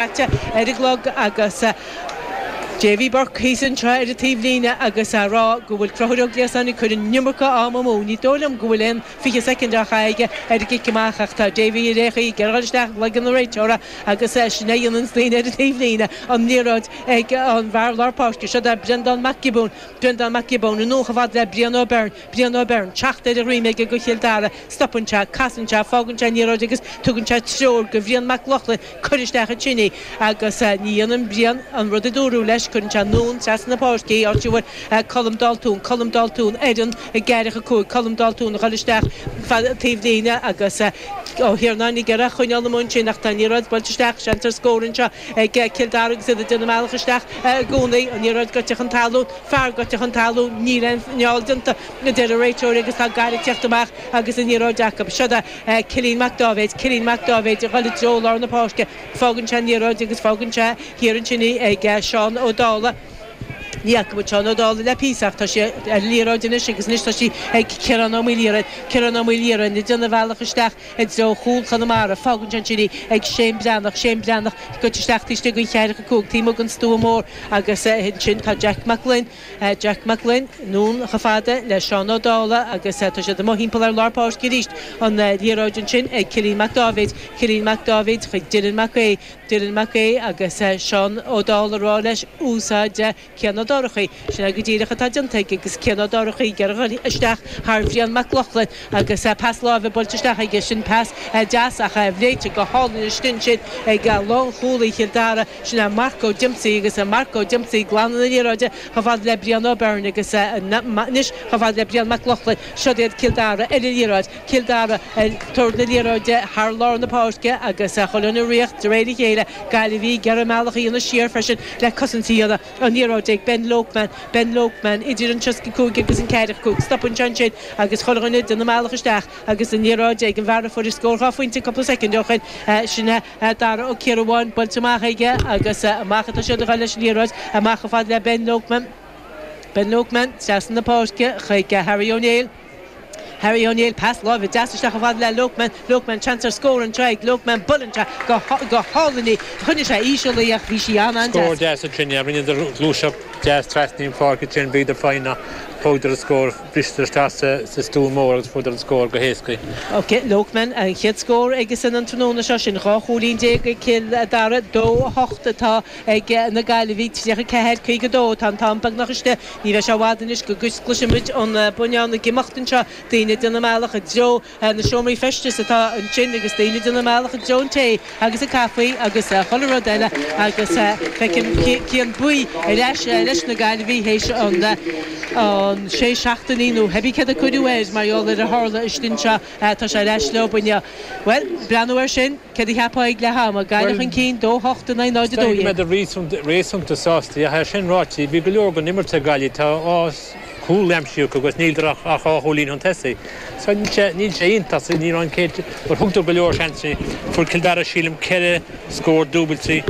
Caite ar an gclog agus Davy Burke thíos anseo ar an taobhlíne agus á rá go bhfuil Conchúr Ó Gliasáin ag cur an iomarca ama amú. Ní dóigh liom go bhfuil aon 20 soicind á chaitheamh aige ar an gcic amach ach tá Davy ar aon chaoi ag iarraidh a dhul isteach i gcloigeann an réiteora agus sin é a dhéananns daoine ar an taobhlíne. An liathróid ag an bhfear lár páirce. Seo é Breandán Mac Giobúin. Breandán Mac Giobúin anonn chomh fada le Brian Ó Beirn. Brian Ó Beirn, teacht ar a dhroim aige do Chill Dara. Stopann sé, casann sé, fágann sé an liathróid agus tugann sé treoir do Bhrian Mac Lochlainn cuir isteach ansin í agus ní dhéanann Brian an rud a dúradh leis, cuireann sé anonn trasna na páirce í, áit a bhfuil Colm Daltún, Colm Daltún ar an gceathracha 5, Colm Daltún ag dul isteach fad taobh líne agus Ó hIarnáin ag iarraidh a choinneáil amuigh ansin ach tá an liathróid buailte isteach, seans ar scór anseo ag Cill Dara agus iad ag déanamh a mbealach isteach i gcónaí, an liathróid gaibhte chun talún, fear gaibhte chun talún, níl aon fheall déanta a deir an réiteoir agus tá Gaillimh ag teacht amach agus an liathróid acu. Siod é Cillian Mac Dáibhéid, Cillian Mac Dáibhéid ag dul i dtreo lár na páirce. Fágann sé an liathróid agus fágann sé thiar ansin í ag Seán Ó Dálaigh. Ní fhaca muid Seán Ó Dálaigh le píosa ach tá sé ar an liathróid anois agus anois tá sí ag Ciarán Ó Maoildhia. Ciarán Ó Maoildhia ag déanamh a bhealach isteach i dtreo chúl Chonamara. Fágann sé ansin í ag Shane Breathnach. Shane Breathnach gaibhte isteach taobh istigh den cheathracha 5, taobh amuigh den stua mór agus ansin tá Jack Mac Gloinn. Jack Mac Gloinn anonn chomh fada le Seán Ó Dálaigh agus tá siad amuigh thimpeall ar lár páirce arís. An liathróid ansin ag Cillian Mac Dáibhéid. Cillian Mac Dáibhéid chuig Dylan Mac Aodha. Dylan Mac Aodha agus Seán Ó Dálaigh ag rá leis úsáid Cian Ó Dorchaí. Sin é go díreach atá déanta aige agus Cian Ó Dorchaí ag iarraidh a dhul isteach thar Bhrian Mac Lochlainn agus pas láimhe buailte isteach aige. Sin pas deas ach léite go hálainn istigh ansin ag lánchúlaí Chill Dara. Sin é Marco Dempsey agus Marco Dempsey glanadh na liathróide chomh fada le Brian O'Byrne agus anois chomh fada le Brian Mac Lochlainn. Siod iad Cill Dara ar an liathróid. Cill Dara ag tabhairt na liathróide thar lár na páirce agus chuile dhuine ag ritheacht de réir a chéile. Gaillimhigh ag iarraidh a mbealach a dhéanamh siar freisin le cosaint a dhéanamh. An liathróid ag Ben Loughman. Ben Loughman idir an 35 agus an 45. Stopann sé ansin agus chuile dhuine ag déanamh a mbealach isteach agus an liathróid ag an bhfear a fuair an scór 2 phointe cúpla soicind ó shin. Sin é. Dara Ó Ciarabháin buailte amach aige agus amach atá siad a dhul leis an liathróid, amach chomh fada le Ben Loughman. Ben Loughman trasna na páirce chuig Harry O'Neill. Harry O'Neill, pas láimhe deas isteach chomh fada le Loughman. Loughman, seans ar scór anseo ag Loughman, buaileann sé go hálainn í. Choinnigh sé íseal í ach bhí sí an-an-deas. Scór deas ansin, yeah. Rinneadar gluaiseacht deas trasna an pháirc ansin, bhíodar foighneach, thógadar an scór. Bhriseadar isteach sa stua mór agus fuaireadar an scór go héasca. Ok, Loughman, an chéad scór aigesan an tráthnóna seo, sin 12 chúilín ag Cill Dara, 2, 8 atá ag na Gaillimhigh, 34, 52 atá an t-am beagnach istigh. Ní bheidh sé i bhfad anois go gcloisfimid an buinneán ag imeacht anseo, daoine ag déanamh a mbealach i dtreo na seomraí feistis atá ansin agus daoine ag déanamh a mbealach i dtreo an tae agus an caife agus chuile rud eile agus feicim Cian Buí ar ais leis na Gaillimhigh théis an sé seachtainí nó cibé céard a cuireadh air mar gheall ar a tharla istigh anseo. Tá sé ar ais leo inniu. Bhuel, breathnú air sin, céard a cheapfá ag leath ama? Gaillimh chun cinn, 2, 8 in aghaidh 0, 12. Is dóigh go mbeadar réasúnta sásta. Ach é sin ráite, bhí go leor den imirt ag Gaillimh. Tá chúl aimsithe acu agus níltear ach 2 chúilín chun tosaigh. So níl sé, níl sé iontach, so ní raibh an chéad, mar thugadar go leor seansanna. Fuair Cill Dara sílim ceithre scór dúbailte.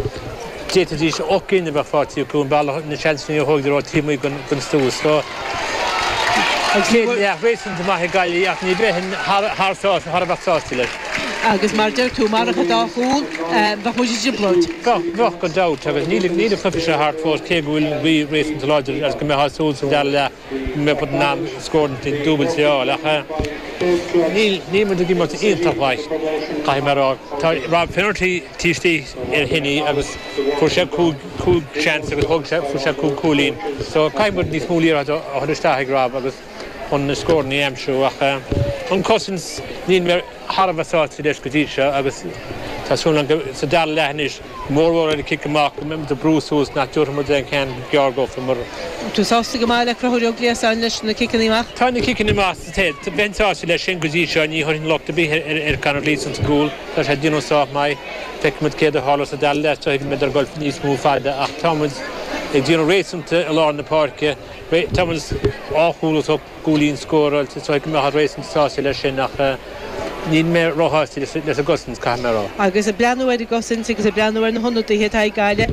D'fhéadfaidís 8 gcinn a bheith faighte acu an bealach, na seansanna a thógadar ó taobh amuigh den stua. So an chéad leath réasúnta maith ag Gaillimh ach ní bheinn thar, thar, thar a bheith sásta leis. Agus mar a deir tú, marach an dá chúl, bheadh muid i dtrioblóid. Bheadh, bheadh gan dabht agus níl, níl an cluiche seo thart fós cé go bhfuil an ghaoth réasúnta láidir agus go mbeifeá ag súil sa dara leath go mbeadh muid in ann scóranna dúbailte a fháil ach níl, níl muid ag imirt iontach mhaith, caithfidh mé a rá. Tá Rob Finnerty taobh istigh ar Shinnie agus fuair sé 5, 5 seans agus thóg sé, fuair sé 5 cúilín so caithfidh muid níos mó liathróid a chur isteach ag Rob agus chun na scóranna a aimsiú ach an cosaint níl mé thar a bheith sásta leis go dtí seo agus tá súil agam go sa dara leath anois, go mór mhór ar an cic amach, go mbeidh muid ag brú suas nach dtabharfaidh muid aon cheann gearr dófa mar. Tú sásta go maith le Conchúr Ó Gliasáin leis na ciceanna amach? Tá na ciceanna amach sa taobh. Bheinn sásta leis sin go dtí seo, ní thabharfainn locht ar bith ar Conor Gleeson sa gcúl, tá sé ag déanamh sách maith. Feicfidh muid céard a tharlós sa dara leath, is dóigh go mbeidh ag dul níos mó fada ach tá muid ag déanamh réasúnta i lár na páirce, tá muid 2 chúl os gcúilín scóráilte, is dóigh go mbeifeá réasúnta sásta leis sin ach níl mé róshásta leis an gcosaint, caithfidh mé a rá. Agus ag breathnú ar an gcosaint agus ag breathnú ar na hionadaithe atá ag Gaillimh,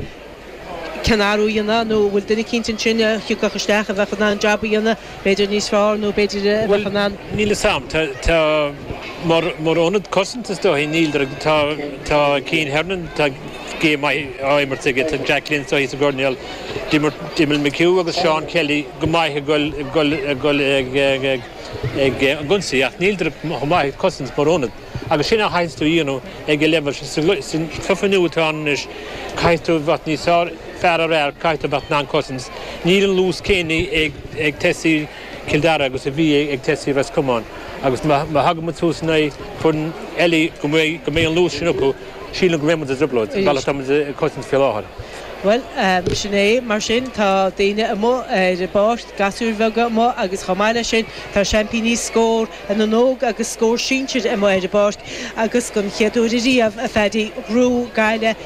cén athrú a dhéanamh nó an bhfuil duine eicínt ansin a thiocfadh isteach a bheadh in ann an jab a dhéanamh, b'fhéidir níos fearr nó b'fhéidir a bheadh in ann. Bhuel, níl 'fhios a'm. Tá, tá, mar, mar ionad cosanta is dóigh, níl, tá, tá Cian Hernon, tá. game maith á imirt aige. Tá Jack Lynch thíos sa gcoirnéal. D'imir McHugh agus Seán Kelly go maith ag dul ag dul ag dul ag ag ag an ionsaí ach níleadar chomh maith ag cosaint mar ionad. Agus sin a chaithfeas tú a dhéanamh ag an leibhéal sin. Sa chluiche nua atá ann anois caithfidh tú a bheith níos fearr fear ar fhear, caithfidh tú a bheith in ann cosaint. Níl an luas céanna ag ag tosaithe Chill Dara agus a bhí ag tosaithe Ros Comáin agus má thagann muid suas in aghaidh foireann eile go mbeidh go mbeidh an luas sin acu, sílim go mbeidh muid i dtrioblóid, an bealach atá muid ag cosaint faoi láthair. Bhuel, sin é mar sin, tá daoine amuigh ar an bpáirc, gasúir bheaga amuigh agus chomh maith leis sin tá seaimpíní Scór na nÓg agus Scór Sinsir amuigh ar an bpáirc agus don chéad uair ariamh, a Phaddy, ghnóthaigh Gaillimh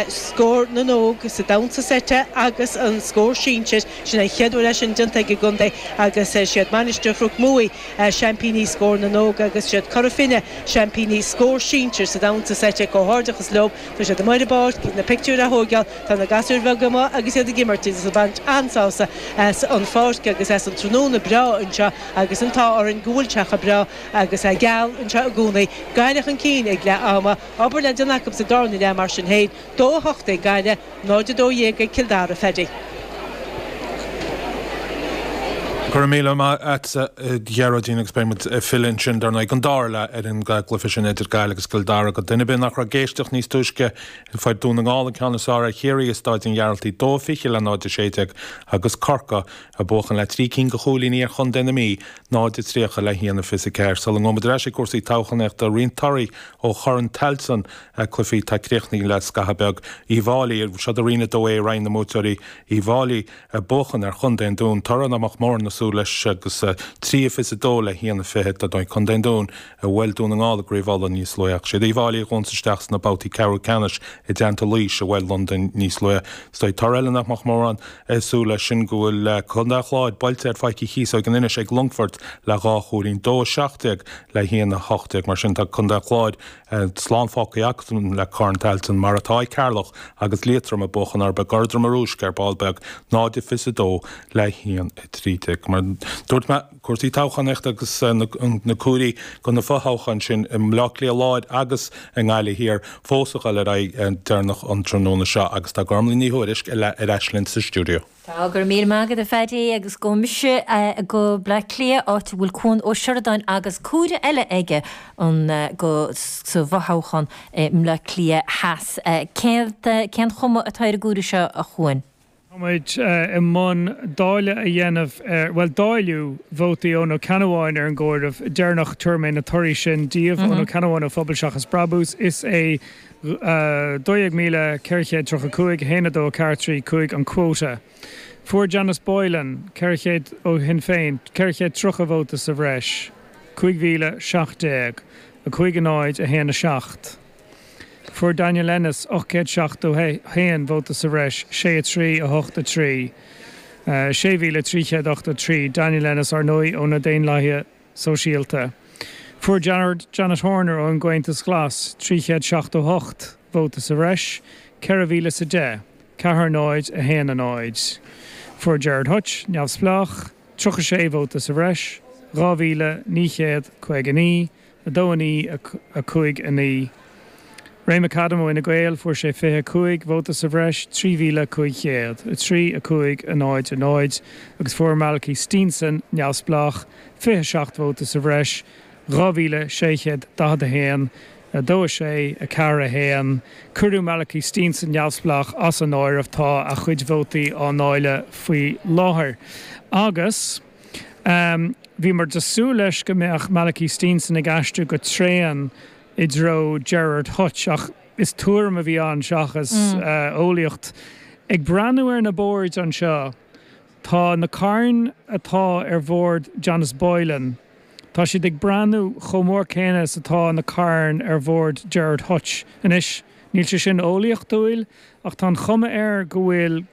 Scór na nÓg sa damhsa seite agus an Scór Sinsir. Sin an chéad uair é sin déanta ag an gcontae agus is iad Mainistir Chnoc Muaidh seaimpíní Scór na nÓg agus is iad Cora Finne seaimpíní Scór Sinsir sa damhsa seite. Comhghairdeachas leo. Tá siad amuigh ar an bpáirc, na pictiúir á thóigeáil, tá na gasúir bheaga amuigh agus iad ag imirt agus ag baint an-sásamh as an pháirc agus as an tráthnóna breá anseo agus an t-ádh orainn go bhfuil sé chomh breá agus é geal anseo i gcónaí. Gaillimh chun cinn ag leath ama, obair le déanamh acu sa darna leath mar sin féin. 2-8 ag Gaillimh, 0-12 ag Cill Dara, Phaddy. Go raibh míle maith a't, a Ghearóidín, agus beidh muid ag filleadh ansin, dar ndóigh, don dara leath ar an gcluiche sin idir Gaillimh agus Cill Dara. Do dhuine ar bith nach raibh ag éisteacht níos túisce, fuair Dún na nGall an ceann is fearr ar Chiarraí i Stáid an Ghearaltaigh, 2-20 le 0-16, agus Corcaigh ag buachan le trí cinn de chúilíní ar Chontae na Mí, 0-30 le 1-24. Sula ngabhfaidh muid ar ais ag cúrsaí toghchánaíochta, roinnt torthaí ó Chorn Tailteann. Cluichí atá críochnaithe le scaitheamh beag. Uíbh Fhailí, seo do Roinn 2A, Roinn na mBuaiteoirí, Uíbh Fhailí ag buachan ar Chontae an Dúin. Toradh nach mbeadh mórán ag súil leis agus 3-22 le 1-20. Dar ndóigh, Contae an Dúin a bhuail Dún na nGall i gCraobh Uladh níos luaithe ach siad Uíbh Fhailí a ghabhanns isteach sna babhtaí ceathrú ceannais i dteannta Laois a bhuail Londain níos luaithe. Is dóigh toradh eile nach mbeadh mórán ag súil leis sin go bhfuil Contae an Chláir buailte ar Pháirc Uí Chíosóg in Inis ag Longfort le dhá chúilín, 2-17 le 1-18. Mar sin tá Contae an Chláir Slán fágtha acu le Corn Tailteann, mar atá ag Ceatharlach agus Liatroim ag buachan orthu i gCorr Droma Rúisc ar ball beag, 0-22 le 1-13. Mar dúirt mé, cúrsaí toghchánaíochta agus na comhairí do na fothoghcháin sin i mBleá Cliath Láir agus i nGaillimh Thiar fós ag dul ar aghaidh deireanach an tráthnóna seo agus tá Gormlaith Ní Thuairisg ar ais linn sa stiúideo. Tá, go raibh míle maith agat a Phaddy agus gabhfaidh mise go Bleá Cliath áit a bhfuil Cuan Ó Seireadáin agus comhaireamh eile aige an go sa bhfothoghchán i mBleá Cliath Theas. Cén cén chuma atá ar an gcomhaireamh seo a Chuain? Tá muid i mbun dáileadh a dhéanamh ar, bhuel dáileadh vótaí Eoin Ó Ceannabháin ar an gcomhaireamh deireanach. Tabharfaidh mé na torthaí sin daoibh. Eoin Ó Ceannabháin ó Phobal Seachas Brabús. Is é 12,435, 1, 2, 4, 3, 5 an quota. Fuair Janice Boylan, 400 ó Shinn Féin, 430 vóta sa bhreis, 5,017, 5, 0, 1, 7. Fuair Daniel Ennis 871 vóta sa bhreis, 6, 3, 8, 3, 6,383. Daniel Ennis, ar ndóigh, ó na Daonlathaithe. Sóisialta. Fuair Janet Horner ón gComhaontas Glas 378 vóta sa bhreis, 4,010, 4 0, 1 0. Fuair Gerard Hutch, Neamhspleách, 36 vóta sa bhreis, 2,959, 2 9, 5 9. Ray McAdam ó Fhine Gael, fuair sé 25 vóta sa bhreis, 3,500, 3, 5, 0, 0, agus fuair Malachy Steenson, Neamhspleách, 27 vóta sa bhreis, 2,641, 2, 6, 4, 1. Cuireadh Malachy Steenson, Neamhspleách, as an áireamh, tá a chuid vótaí á ndáileadh faoi láthair. Agus bhíomar ag súil leis go mbeadh Malachy Steenson ag aistriú go tréan i dtreo Gerard Hutch ach is tuairim a bhí ann seachas eolaíocht. Ag breathnú ar na boird anseo, tá na cairn atá ar bhord Janice Boylan, tá siad ag breathnú chomh mór céanna is atá na cairn ar bhord Gerard Hutch. Anois, níl sé sin eolaíochtúil ach tá an chuma air go bhfuil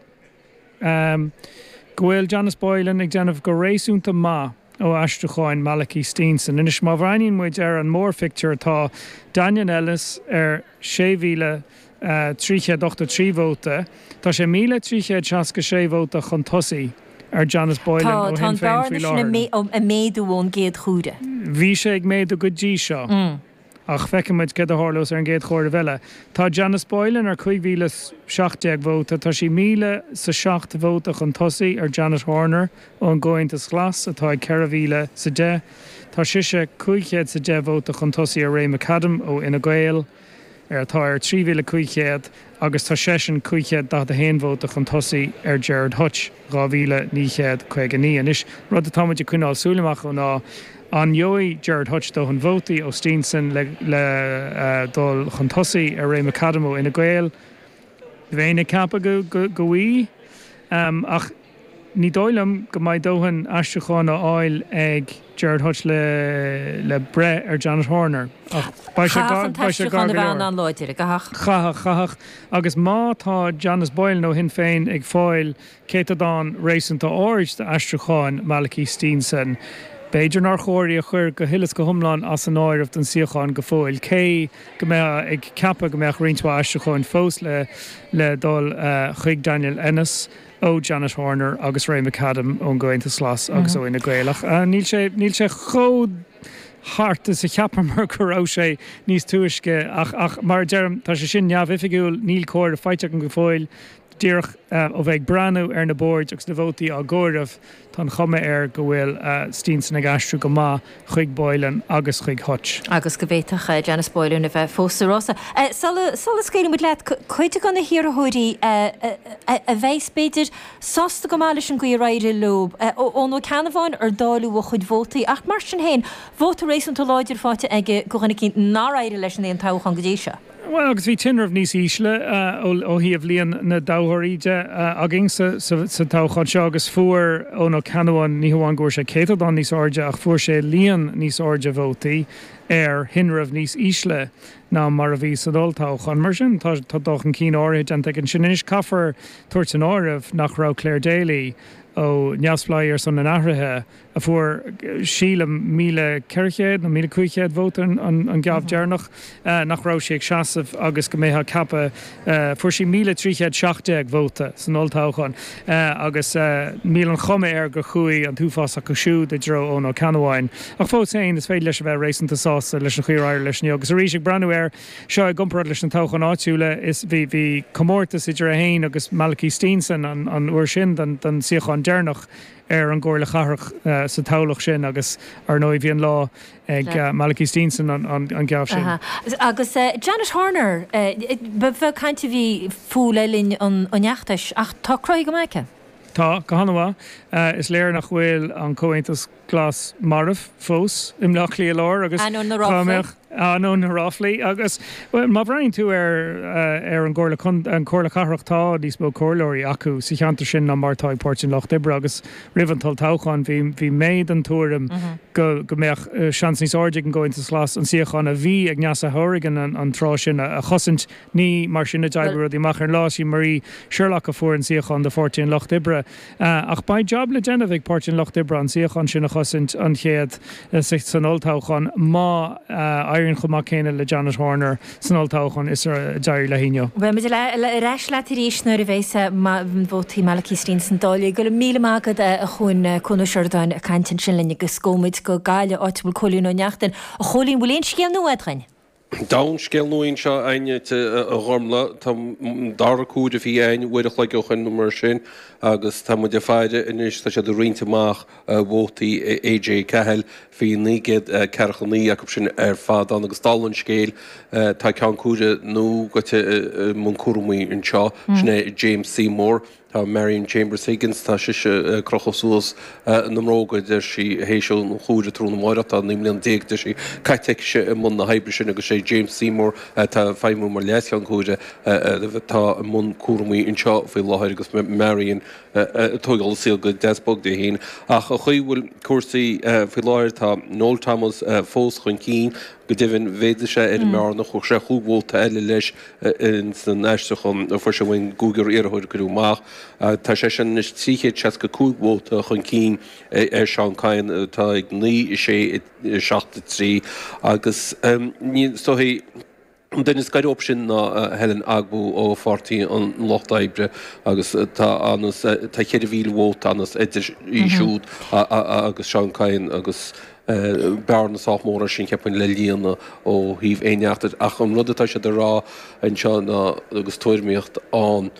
go bhfuil Janice Boylan ag déanamh go réasúnta maith ó aistriúcháin Malachy Steenson. Anois, má bhreathnaíonn muid ar an mórphictiúr, tá Daniel Ennis ar 6,383 vóta. Tá sé 1,366 vóta chun tosaigh ar Janice Boylan ó Shinn Tá an Féin faoi bearna sin láthair. ag méadú ón gcéad chomhaireamh. Bhí sé ag méadú go dtí seo. Ach feicfidh muid céard a tharlós ar an gcéad chomhaireamh eile. Tá Janice Boylan ar 5,017 vóta, tá sí 1,007 vóta chun tosaigh ar Janet Horner ón gComhaontas Glas atá ag 4,010. Tá sise 510 vóta chun tosaigh ar Ray McAdam ó Fhine Gael. ar atá ar 3,500 agus tá seisean 541 vóta chun tosaigh ar Gerard Hutch, 2,959. Anois, rud atá muid ag coinneáil súil amach dó ná an ngeobhaidh Gerard Hutch dóthain vótaí ó Steenson le le dul chun tosaigh ar Ray McAdam ó Fhine Gael. Bheinn ag ceapadh go go bhfaighidh, ach Ní dóigh liom go mbeidh dóthain aistriúcháin á fháil ag Gerard Hutch le le breith ar Janet Horner ach beidh sé gar Chaithfeadh an beidh sé gar t-aistriúchán go a bheith leor. an-láidir, caithfeadh. Chaithfeadh, chaithfeadh. Agus má tá Janice Boylan ó Shinn Féin ag fáil céatadán réasúnta ard d'aistriúcháin Malachy Steenson, b'fhéidir nár chóir í a chur go huile is go hiomlán as an áireamh don suíochán go fóill, cé go mbeifeá ag ceapadh go mbeadh roinnt mhaith aistriúcháin fós le le dul chuig Daniel Ennis. ó Janet Horner agus Ray McAdam ón gComhaontas Glas agus ó Fhine Gael ach níl sé níl sé chomh thart is a cheapamar go raibh sé níos túisce ach ach mar a deirim tá sé sin neamhoifigiúil níl comhaireamh faighte agam go fóill díreach ó bheith ag breathnú ar na boird agus na vótaí á gcomhaireamh tá an chuma air go bhfuil Steenson ag aistriú go maith chuig Boylan agus chuig Hutch. agus go bhféadfadh Janice Boylan a bheith fós sa rása. Sula scaoilfidh muid leat, cuid de na hiarrthóirí a bheas, b'fhéidir, sásta go maith leis an gcaoi ar éirigh leo, Eoin Ó Ceannabháin ar dáileadh a chuid vótaí ach mar sin féin, vóta réasúnta láidir faighte aige do dhuine eicínt nár éirigh leis in aon toghchán go dtí seo. Bhuel, agus bhí tinreamh níos ísle ó thaobh líon na dtoghthóirí de againn sa toghchán seo agus fuair Eoin Ó Ceannabháin, ní hamháin go bhfuair sé céatadán níos airde ach fuair sé líon níos airde vótaí ar thinreamh níos ísle ná mar a bhí san olltoghchán. Mar sin, tá dul chun cinn áirithe déanta aige ansin. Anois, caithfear tabhairt san áireamh nach raibh Clare Daly ó Neamhspleáigh ar son an Athraithe, a fuair, sílim, 1,400 nó 1,500 vóta an geábh deireanach, nach raibh sí ag seasamh agus go mbeifeá ag ceapadh, fuair sí 1,317 vóta san olltoghchán agus níl an chuma air gur chuaigh an t-uafás acu siúd i dtreo Eoin Ó Ceannabháin. Ach fós féin, is féidir leis a bheith réasúnta sásta leis an chaoi ar éirigh leis inniu. Agus arís, ag breathnú air seo i gcomparáid leis na toghcháin áitiúla, is bhí bhí comórtas idir é féin agus Malachy Steenson an uair sin don suíochán deireanach. ar an gComhairle Chathrach sa toghlach sin agus, ar ndóigh, bhí an lá ag Malachy Steenson an geábh sin. Agus Janet Horner, ba bheag caint a bhí fúithi le linn an fheachtais ach tá cruthaithe go maith aici. Tá, go han-mhaith. Is léir nach bhfuil an Comhaontas Glas marbh fós i mBleá Cliath Láir agus Ainneoin na ráflaí. Ainneoin na ráflaí. Agus má bhreathnaíonn tú ar ar an gComhairle an Chomhairle Cathrach tá níos mó comhairleoirí acu sa cheantar sin ná mar atá ag Páirtí an Lucht Oibre agus roimh an t-olltoghchán bhí bhí mé den tuairim go go mbeadh seans níos airde ag an gComhaontas Glas an suíochán a bhí ag Neasa Hourigan an tráth sin a chosaint. Ní mar sin a d'oibrigh rudaí amach ar an lá. Is í Marie Sherlock a fuair an suíochán do Pháirtí an Lucht Oibre. Ach beidh jab le déanamh ag Páirtí an Lucht Oibre an suíochán sin a chosaint an chéad san olltoghchán má éiríonn chomh maith céanna le Janet Horner san olltoghchán is a d'éirigh léi inniu. Beidh muid ar ais leat arís nuair a bheas vótaí Malachy Steenson dáilte. Go raibh míle maith agat a Chuain, Cuan Ó Seireadáin ag caint ansin linn agus gabhfaidh muid go Gaillimh áit a bhfuil Cóilín Ó Neachtain. A Chóilín, bhfuil aon scéal nua agat dhuinn? Tá an scéal nua anseo againn a Ghormlaith. Tá an dara comhaireamh a bhí againn uair a chloig ó shoin nó mar sin agus tá muid ag faire anois, tá siad ag roinnt amach vótaí AJ Cahill. Bhí 949 acu sin ar fad ann agus dála an scéil tá ceann comhairimh nua gaibhte i mbun cúramaí anseo, sin é James Seymour. Tá Marion Chambers Higgins, tá sise ag crochadh suas na mbróga, deir sí, théis an chomhairimh tráthnóna amárach. Tá 19 mbliana, deir sí, caite aicise i mbun na hoibre sin agus sé James Seymour atá ag feidhmiú mar leascheann comhairimh atá i mbun cúramaí anseo faoi láthair agus Marion ag tógáil an saol go deas bog di féin. Ach an chaoi a bhfuil cúrsaí faoi láthair, tá Noel Thomas fós chun cinn. Go deimhin, mhéadaigh sé ar an mbearna, chuir sé chúig vóta eile leis Ins an aistriúchán a fuair sé ón gcúigear iarrthóir a cuireadh amach, tá seisean anois 365 vóta chun cinn ar Seán Kyne atá ag 9, 6, 7, 3 agus ní is dóichí. An duine is gaire dóibh sin ná Helen Ogbu ó Pháirtí an Lucht Oibre agus tá anuas, tá 4,000 vóta anuas idir í siúd agus Seán Kyne agus bearna sách mór é sin cheapfainn le líonadh ó thaobh aon neachtar. Ach an rud atá siad a rá anseo ná, agus tuairimíocht ann.